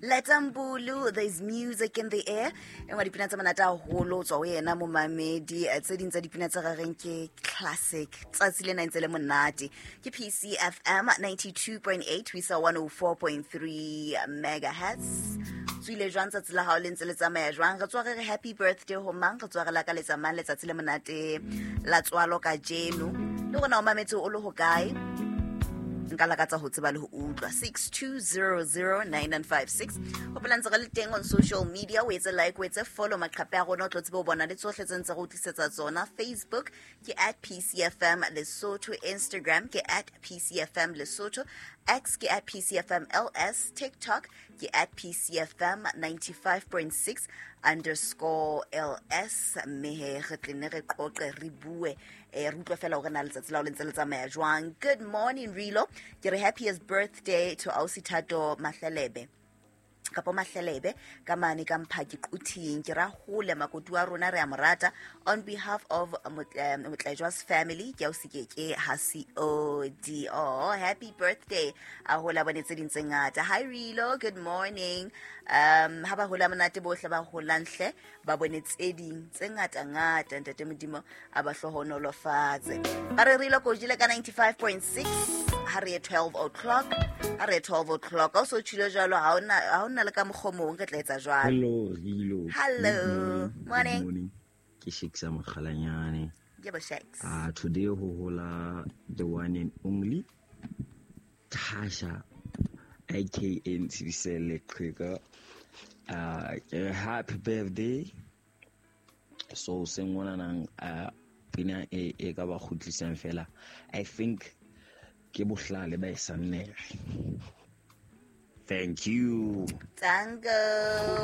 Letambulu, there's music in the air. E nngwe dipina tse monate haholo tswa ho yena momamedi. Tse ding tsa dipina tse rareng ke classic. Tsatsi lena ntse le monate. Ke PCFM 92.8 ho isa 104.3 megahertz. Tswile jwang tsatsi la hao le ntse le tsamaya jwang? Re tswa re re happy birthday ho mang? Re tswa re lakaletsa mang letsatsi le monate la tswalo kajeno? Le rona o mametse o le hokae? Nka lakatsa ho tseba le ho utlwa. 62009956. Hopola ntse re le teng on social media, o etse like, o etse follow maqhape a rona, o tlo tsebe ho bona le tsohle tse ntse re o tlisetsa tsona. Facebook ke at PCFM Lesotho, Instagram ke at PCFM Lesotho, X ke at PCFM LS, TikTok ke at PCFM 95.6 underscore LS. Mme he re tle ne re qoqe, re bue, re utlwe fela hore na letsatsi la o le ntse le tsamaya jwang. Good morning Rilo, ke re happiest birthday to ausi Thato Mahlelebe kapo Mahlelebe ka mane ka Mphaki Quthing. Ke ra hole makoti wa rona, re a mo rata. On behalf of Motlejwa's family, ke ausi ke ha C O D. Oh, happy birthday, a hola bone tse ding tse ngata. Hi Rilo, good morning. Ha ba hola monate bohle ba holang hle, ba bone tse ding tse ngata ngata, ntate Modimo a ba hlohonolofatse. Ba re Rilo ko jile ka 95.6 ha re ye 12 o'clock, ha re ye 12 o'clock. Ha o so tjhile jwalo, ha hona le ka mokgwa o mong re tla etsa jwalo. Hello, Rilo. Hello. Good morning. Morning. Good morning. Ke Shakes Mokgalanyane. Ke bo Shakes. Today ho hola the one and only Tasha aka Ntshibisele Qheka. Ke re happy birthday. So seng nang pina e e ka ba kgutlisang fela. I think ke bohlale ba e sannere. Thank you. Tango.